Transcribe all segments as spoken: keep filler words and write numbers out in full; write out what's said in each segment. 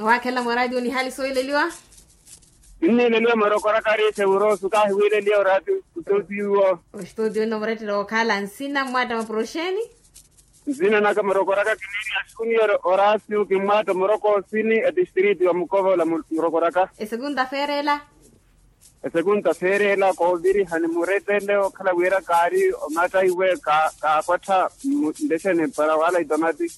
Waakhelela mwaradiyo nihaali sooyileliwa. Kinniileliwa morokoraka ariixe wuroosu kaahi wiileliwa orati. Ostudio. Ostudio nno murettela okhala nsina mmwatta mapuroxeni. Nsina naka morokoraka kinniiliwa junior orasio kimmwatta morokoosini etistrito ya mukovola. Morokoraka. Esekunta feerela. Esekunta feerela koovirihani murettele okhala wira kaari omatta iwe kaakwattha. Ntexeni para wala itomati.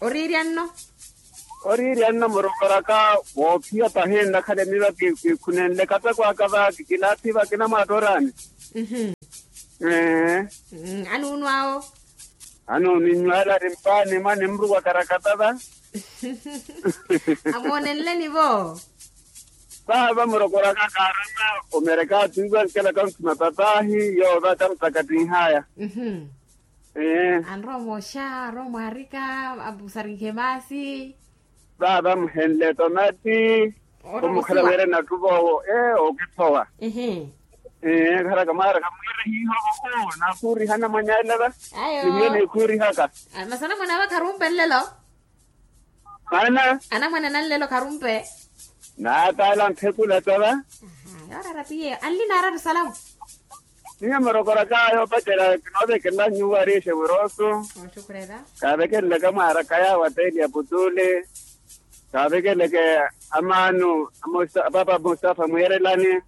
Oriirya nno. Oriirya nno murokoraka woophiya pahi nnakhala emiva kikhunenle katako aka va kikilaathiva kinamwaattoorani. Anuunwaawo. Anuuninywala ari mpaani mwa nimruwa karakata va. Amoonenleni vo. Vaava murokoraka kaarama omereka atwiiwa nkelaka nkhuma papaahi yoova tamutakatinhaya. Anrowa mooxa anrowa mwaarika. Apusarinhe maasi. Vaava muhenle tomati. Omukhala wira nattuva owo ee okithowa. Ee kharaka mwaaraka mwiira hiihovo. Nakhuurihana mwanyalela va. Nihiyo nikhuurihaka. Masi anamwane ava kharumpe nlelo. Ana. Anamwane nanlelo kharumpe. Naataala nthekula tava. Yoorara piye anli naaratu salamu. Niyo murokoraka yoopacela kinoovekelela nyuwo ariixe wuroosu. Kaavekelelaka mwaaraka yaawo atteeli ya putuli. Kaavekeleleke amaanu. Papa mustafa mwiirelani.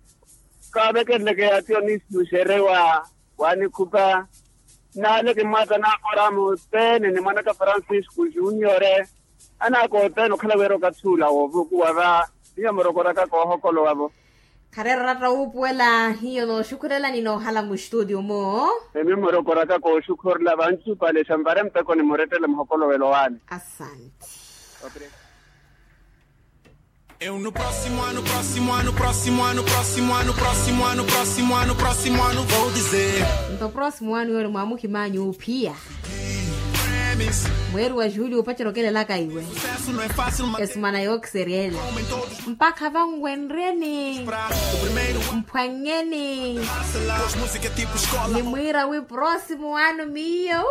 Kaavekeleleke atiyo nisinuxerewa. Waanikhupa. Naale kimmwatta naakora muthene ni mwanaka francisco juniore. Anaaka othene okhala wira okathi ula woovukuwa va. Niyo murokoraka koohokolowa vo. Khareera oratta wuupuwela hiyo nooxukhurela ni noohala muxtudio mu. Emi murokoraka kooxukhurela vanci upalexa nvare mpeko ni murettele muhokolowelo waani. Asante. Eu no próximo ano, próximo ano, próximo ano, próximo ano, próximo ano, próximo ano, próximo ano vou dizer. Nto próximo ano yoole mwaamuhimanyu ophiya. Mweeri wa juuli opacerya okelelaka iwe. Esumana yookiseryela mpakha vanwenryeni. Mphwannyeni. Nimwiira wi próximo ano miyo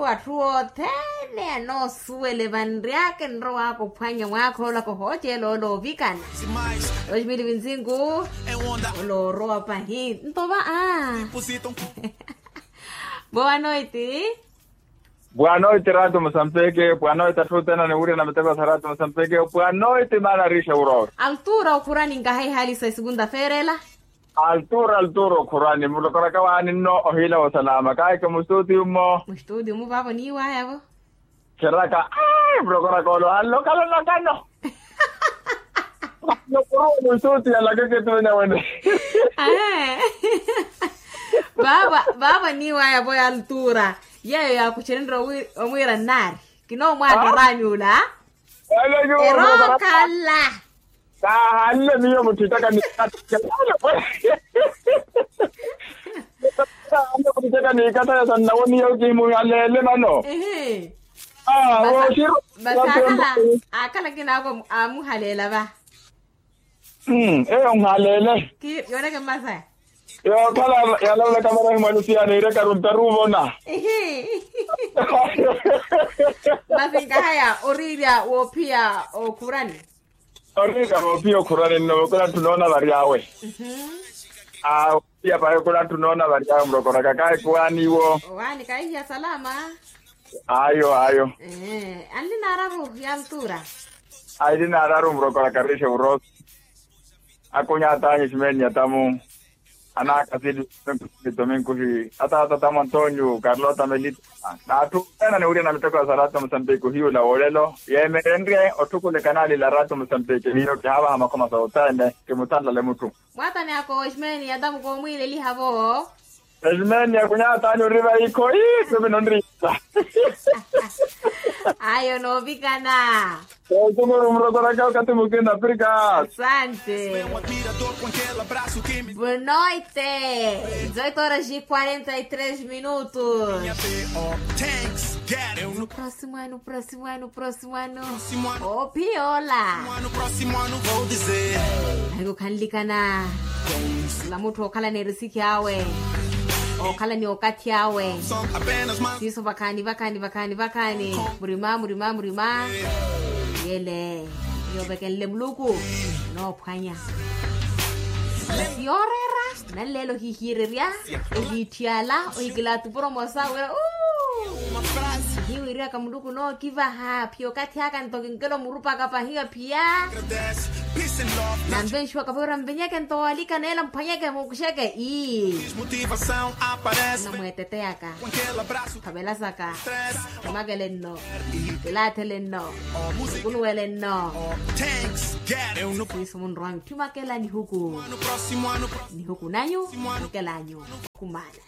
atthu othene anoosuwele vanryaka enrowaaka ophwannya mwaakha ola kohooceela ola ovikana. Dois mil vinzingu. Ola orowa pahi nto va a. Boa noite. Boa noite rato mosampeke boa noite atthu othene aniwurya na miteko sa rato mosampeke. Boa noite maana ariixa wuroowa. Altura okhurani nkaha ihaali sa esekunta feerela. Altura altura okhurani mulokoraka waani nno ohiila wa salama kaahike mustuutiyu mmo. Mustuutiyu mmo vaavo niiwayavo. Kheraka mulokoraka ole ohanle okhala onakano. Nokuruwa mustuutiyu alakeke tuwene wene. Vaavo niiwayavo ya altura. Yeeyo yaakuxerenrye omwiira nnaari. Kinoomwaattoranyu ula. Erokhala. Kaahanle miyo mutthittaka niikatha. Kaahanle mutthittaka niikatha ya sannawoniya okimuhaleele mano. Masi akhala akhala kinaako amuhaleela va. Eyo nhaleele. Yooneke mmasaya. Yookhala yalavalaka marahi mwa lusiyana iirekaru ntaru ovona. Masi nkahaya oriirya woophiya okhurani. Oriirya woophiya okhurani nno vokula nthu noona varyawe. Awo. Iya pahi khula nthu noona varyaka murokoraka kaahikuwaani iwo. Owaani kaihiya salama. Ayo ayo. Anli naararu ya altura. Aili naararu murokoraka riixe uroso. Akunya ataanyu ximeni ya tamu. Anaaka sili tominkuhi ataata tamu antonio karlota melita. N'atthu ena niwirya na miteko ya sa rato musambiki ohiyula wolelo yeemerenrye otthukulekana alila rato musambiki hiyo kihaavaha makhoma sa othene. Kimuthanlale mutthu. Mwaatani ako eximeni ya tamu koomwiileliha vo. Eximeni ya kunyatani ori vaikho ii tumi nonriisa. Ayo noovikana. Oosukuru murokoraka okathi mukina afrika. Asante. Boa noite. Dezoito horas e quarenta e três minutos. Próximo ano próximo ano próximo ano. Opiola. Ayo khanlikana. Ola mutthu okhala neerisikhi awe. Okhala ni okathi awe. Siiso vakhaani vakhaani vakhaani vakhaani. Murima murima murima. Yele, yoovekenle muluku noophwanya. Yooreera. Nanleela ohihiirerya, ohiitthiyala, ohikila atupuro moosa wira. Hiwiriyaka muluku nookivaha phi okathi aka nto kinkela omurupaka pahiya phiya. Nanvenxiwaka vawira nvenyeke nto walika neela mphwanyeke muukuxeke ii. Namweeteteyaka, khavela saka, omakele nno, kilathele nno, okunuwele nno. Siiso munrowa mitthi makela nihuku. Nihuku nanyu, makela anyu. Kumana.